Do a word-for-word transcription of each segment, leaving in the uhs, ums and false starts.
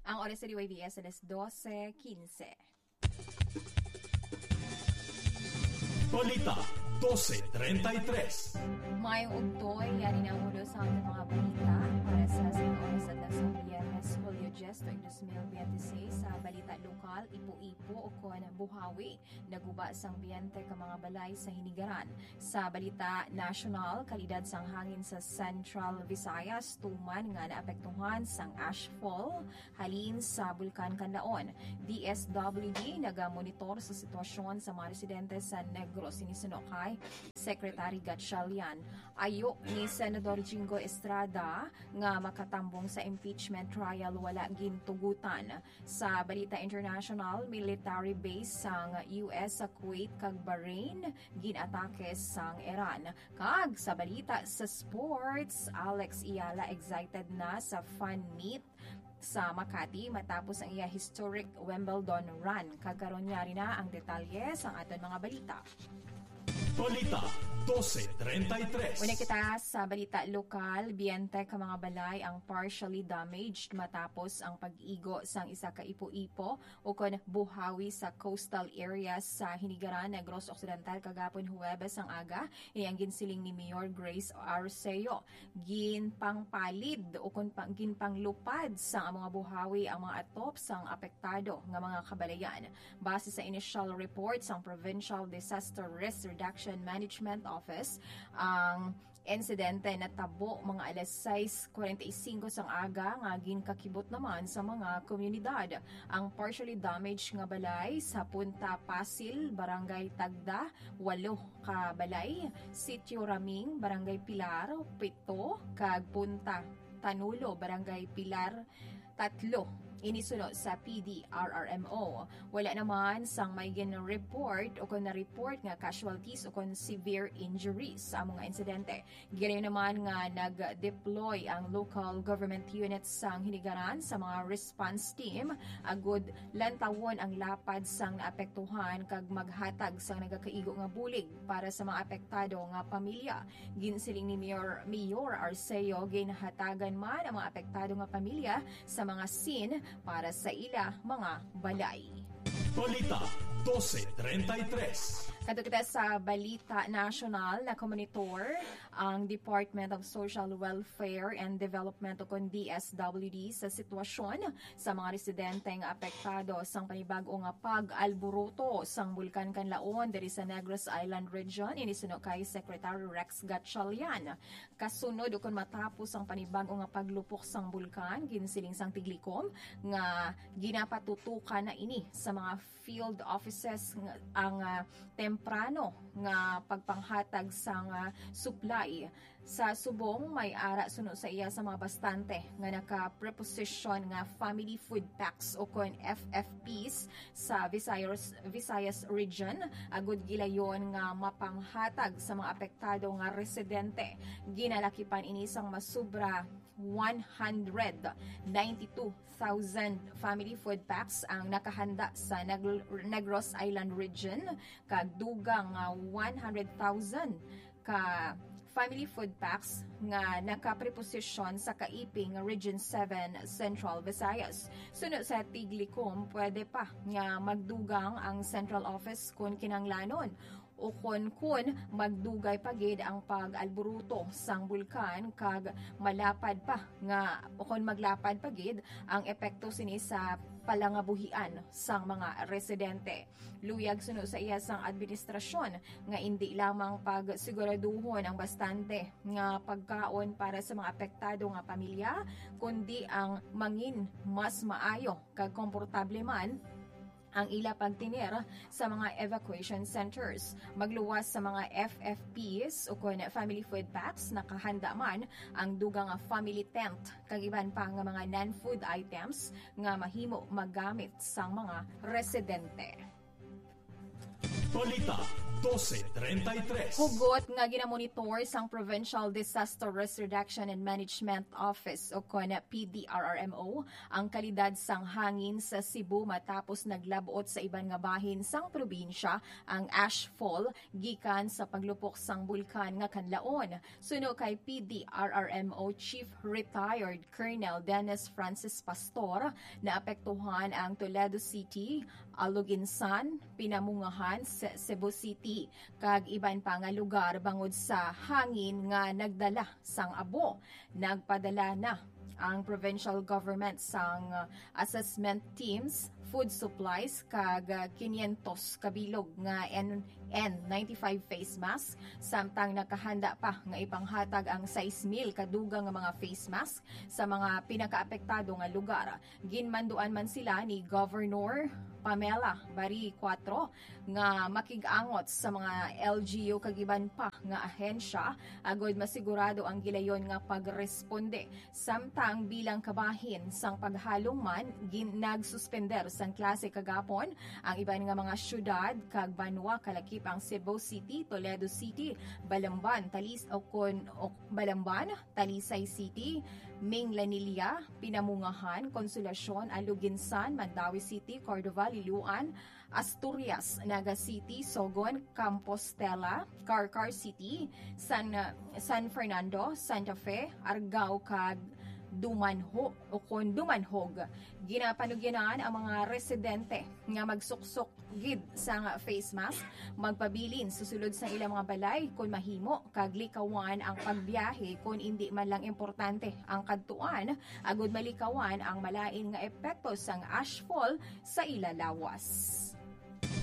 Ang oras sa D Y V S alas dose quince. Balita dose treinta y tres. May ugtoy, yari na ang ulo sa ating mga balita para sa Singkong sa Dasang Biyernes, Hulyo diyes, tuig dos mil biyente seis. Sa balita lokal, Ipo-Ipo o kon Buhawi, naguba sang biyente ka mga balay sa Hinigaran. Sa balita nasyonal, kalidad sang hangin sa Central Visayas tuman nga naapektuhan sang ashfall halin sa Bulkan Kanlaon. D S W D nagamonitor sa sitwasyon sa mga residente sa Negros, ini suno kay Secretary Gatchalian. Ayo ni Senador Jinggoy Estrada nga makatambong sa impeachment trial wala gintugutan. Sa balita international, military base sang U S sa Kuwait kag Bahrain ginatake sang Iran. Kag sa balita sa sports, Alex Eala excited na sa fan meet sa Makati matapos ang iya historic Wimbledon run. Kag karon, yari na ang detalye sang aton mga balita. Balita dose treinta y tres. Una kita sa balita lokal, biyente ka mga balay ang partially damaged matapos ang pag-igo sang isa ka ipo-ipo o kon buhawi sa coastal areas sa Hinigaran, Negros Occidental, kagapon Huwebes ang aga. Ini ang ginsiling ni Mayor Grace Arceo. Ginpangpalid o kon pa, ginpanglupad sa mga buhawi ang mga atop sang apektado nga mga kabalayan. Base sa initial report sang Provincial Disaster Risk Reduction Management Office, ang insidente natabo mga alas sais kuwarenta y singko sang aga nga ginkakibot naman sa mga komunidad. Ang partially damaged nga balay sa Punta Pasil, Barangay Tagda, walo ka balay, Sitio Raming, Barangay Pilar, pito, kag Punta Tanulo, Barangay Pilar, tatlo. Ini suno sa P D R R M O. Wala naman sang may gin-report o kon na-report nga casualties o kon severe injuries sa amo nga insidente. Gilayon naman nga nag-deploy ang local government units sang Hinigaran sa mga response team agud lantawon ang lapad sang naapektuhan kag maghatag sang nagakaigo nga bulig para sa mga apektado nga pamilya. Ginsiling ni Mayor, Mayor Arceo, ginhatagan man ang mga apektado nga pamilya sa mga scene para sa ila mga balay. Balita dose treinta y tres. Kadto kita sa balita nasyonal, nakamonitor ang Department of Social Welfare and Development o kon D S W D sa sitwasyon sa mga residente nga apektado sang panibag-o nga pag-alboroto sang Bulkan Kanlaon diri sa Negros Island Region, ini suno kay Secretary Rex Gatchalian. Kasunod o kon matapos ang panibag-o nga paglupok sang bulkan, ginsiling sang Tiglikom nga ginapatutukan na ini sa mga field offices nga, ang, ah, temprano nga pagpanghatag sang, ah, supply. Sa subong, may ara suno sa iya sa mga bastante nga naka-preposition nga family food packs o kon F F Ps sa Visayas, Visayas Region, agud gilayon nga mapanghatag sa mga apektado nga residente. Ginalakipan ini sang masubra one hundred ninety-two thousand family food packs ang nakahanda sa Nag-, Negros Island Region, kag dugang nga one hundred thousand ka family food packs nga nakapreposisyon sa kaiping Region seven Central Visayas. Suno sa Tiglikom, pwede pa nga magdugang ang central office kon kinahanglanon, ukon kon magdugay pa gid ang pag-alburuto sang bulkan kag malapad pa nga, ukon maglapad pa gid ang epekto sini sa palangabuhian sang mga residente. Luyag suno sa iya sang administrasyon nga indi lamang pagsiguraduhon ang bastante nga pagkaon para sa mga apektado nga pamilya, kundi ang mangin mas maayo kag komportable man ang ila pagtinir sa mga evacuation centers. Magluwas sa mga F F Ps ukon family food packs, nakahanda man ang dugang nga family tent kag iban pa nga mga non-food items nga mahimo magamit sang mga residente. Balita Dose treinta y tres. Hugot nga ginamonitor sang Provincial Disaster Risk Reduction and Management Office o kon P D R R M O ang kalidad sang hangin sa Cebu matapos naglabot sa iban nga bahin sang probinsya ang ashfall gikan sa paglupok sang bulkan nga Kanlaon. Suno kay P D R R M O Chief Retired Colonel Dennis Francis Pastor, naapektuhan ang Toledo City, Aloguinsan, Pinamungahan, Ce-, Cebu City, kag iban pa nga lugar bangod sa hangin nga nagdala sang abo. Nagpadala na ang provincial government sang, uh, assessment teams, food supplies, kag, uh, quinientos ka bilog nga N N ninety-five face mask, samtang nakahanda pa nga ipanghatag ang sais mil ka dugang nga mga face mask sa mga pinakaapektado nga lugar. Ginmanduan man sila ni Governor Pamela Bari Cuatro nga makig-angot sa mga L G U kag iban pa nga ahensya agod masigurado ang gilayon nga pagresponde. Samtang bilang kabahin sang paghalong man, gin-, nagsuspender sang klase kagapon ang iban nga mga syudad kag banwa, kalakip ang Cebu City, Toledo City, Balamban, Talis-, o kon, o, Balamban, Talisay City, Minglanilla, Pinamungahan, Consolacion, Aloguinsan, Mandaue City, Cordova, Liloan, Asturias, Naga City, Sogon, Compostela, Carcar City, San, San Fernando, Santa Fe, Argao, kag Dumanho, o kon Dumanhog. Ginapanugyanan ang mga residente nga magsuksok gid sang face mask, magpabilin sa sulod sang ilang mga balay kon mahimo, kag likawan ang pagbiyahe kon indi man lang importante ang kadtuan, agud malikawan ang malain nga epekto sang ashfall sa ila lawas.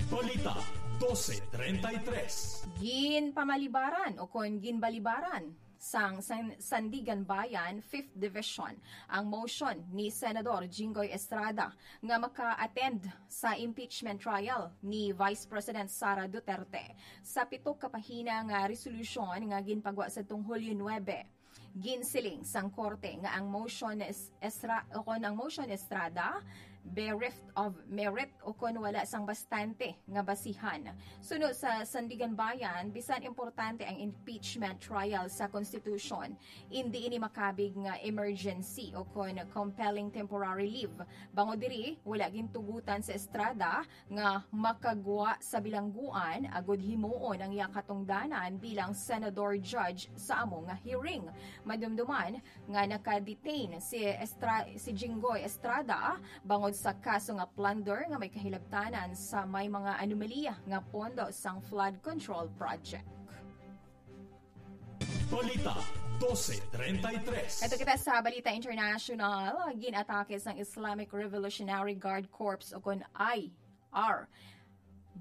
Balita dose treinta y tres. Ginpamalibaran o kon ginbalibaran sang San-, Sandiganbayan Fifth Division ang motion ni Senador Jinggoy Estrada nga maka-attend sa impeachment trial ni Vice President Sara Duterte. Sa pito ka pahina nga resolusyon nga ginpagwa sa tong Hulyo nuebe, ginsiling sang korte nga ang motion es-, Esra-, o kon ang motion Estrada bereft of merit o kon wala sang bastante nga basihan. Suno sa Sandiganbayan, bisan importante ang impeachment trial sa Constitution, indi ini makabig nga emergency o kon compelling temporary leave. Bangod diri, wala gintugutan sa Estrada nga makagwa sa bilangguan agud himuon ang iya katungdanan bilang senador judge sa amo nga hearing. Madumduman nga naka-detain si Estra-, si Jinggoy Estrada bangod sa kaso nga plunder nga may kahilabtanan sa may mga anomalya nga pondo sang flood control project. Balita dose treinta y tres. Ito kita sa Balita International. Ginatake sang Islamic Revolutionary Guard Corps o kon I R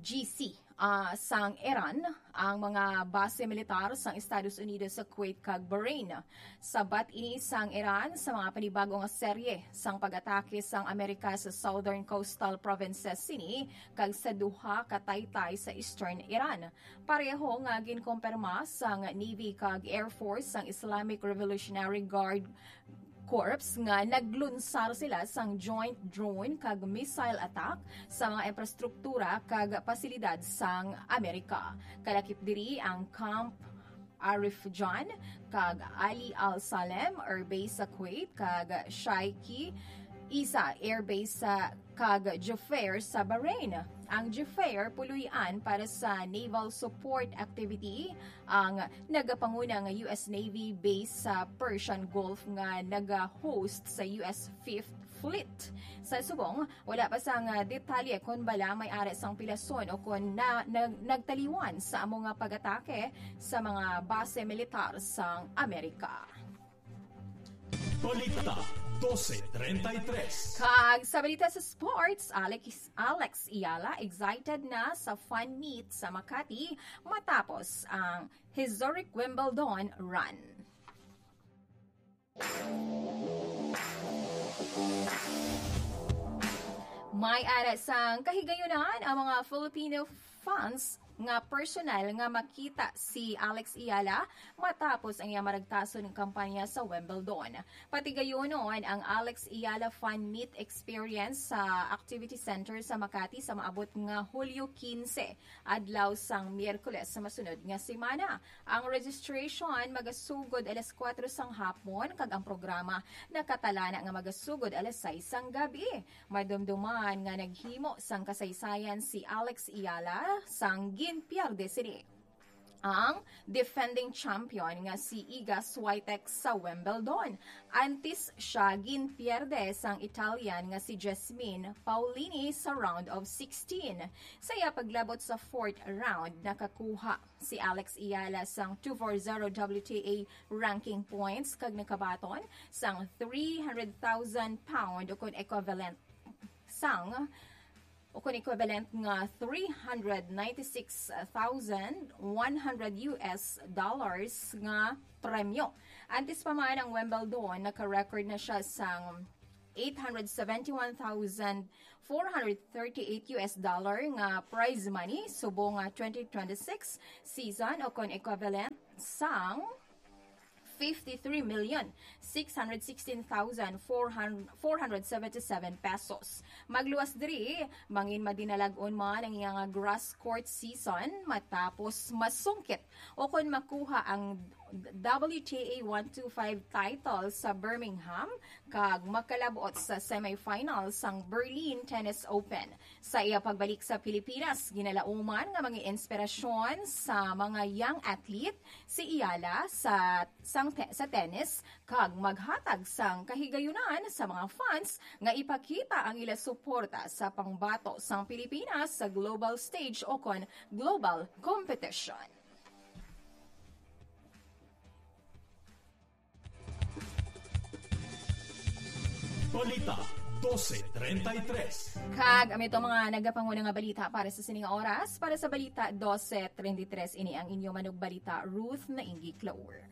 G C, ah, sang Iran ang mga base militar sang Estados Unidos sa Kuwait kag Bahrain. Sabat ini sang Iran sa mga panibago nga serye sang pag-atake sang Amerika sa southern coastal provinces sini kag sa duha ka taytay sa eastern Iran. Pareho nga ginkumpirma sang Navy kag Air Force sang Islamic Revolutionary Guard Corps nga naglunsar sila sang joint drone kag missile attack sa mga infrastruktura kag pasilidad sang Amerika. Kalakip diri ang Camp Arifjan kag Ali Al Salem Air Base sa Kuwait kag Shaiki Isa Air Base sa kag Jufair sa Bahrain. Ang Jufair puloy-an para sa naval support activity ang nagapanguna nga U S Navy base sa Persian Gulf nga naga-host sa U S Fifth Fleet. Sa subong, wala pa sang detalye kon bala may ara sang pilason o kon na, na, nagtaliwan sa amo nga pag-atake sa mga base militar sang Amerika. Balita dose treinta y tres. Kag sa balita sa sports, Alex, Alex Eala excited na sa fan meet sa Makati matapos ang historic Wimbledon run. May ara sang kahigayunan ang mga Filipino fans nga personal nga makita si Alex Eala matapos ang iya maragtason nga kampanya sa Wimbledon. Patigayunon ang Alex Eala Fan Meet Experience sa Activity Center sa Makati sa maabot nga Hulyo quince, adlaw sang Miyerkules sa masunod nga semana. Ang registration magasugod alas kuwatro sang hapon kag ang programa nakatalana nga magasugod alas sais sang gabi. Madumduman nga naghimo sang kasaysayan si Alex Eala sang ginpierde sini ang defending champion nga si Iga Swiatek sa Wimbledon. Antes siya ginpierde sang Italian nga si Jasmine Paolini sa round of sixteen. Sa iya paglabot sa fourth round, nakakuha si Alex Eala sang two four zero W T A ranking points kag nakabaton sang three hundred thousand pound ukon equivalent sang ukon equivalent nga three hundred ninety-six thousand one hundred U S dollars nga premyo. Antes pa man ang Wimbledon, naka-record na siya sang eight hundred seventy-one thousand four hundred thirty-eight U S dollar nga prize money subong nga twenty twenty-six season, ukon equivalent sang fifty-three million six hundred sixteen thousand four hundred seventy-seven pesos. Magluwas diri, mangin madinalag-on man ang iya nga grass court season matapos masungkit ukon makuha ang W T A one two five title sa Birmingham kag makalabot sa semifinal sang Berlin Tennis Open. Sa iya pagbalik sa Pilipinas, ginalauman nga mga inspirasyon sa mga young athlete si Eala sa, sang te-, sa tennis kag maghatag sang kahigayunan sa mga fans nga ipakita ang ila suporta sa pangbato sang Pilipinas sa global stage ukon global competition. Balita dose treinta y tres. Kag amo ito mga nagapanguna nga balita para sa sining oras. Para sa Balita dose treinta y tres, ini ang inyo manugbalita, Ruth Naingi Clower.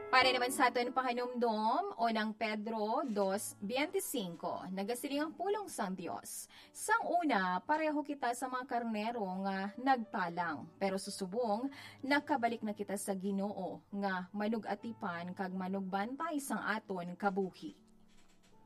Para naman sa aton pahanumdom, unang Pedro dos veinticinco, nagasiling ang pulong sang Dios. Sang una, pareho kita sa mga karnero nga nagpalang, pero sa subong, nakabalik na kita sa Ginoo nga manugatipan kag manugbantay sang aton kabuhi.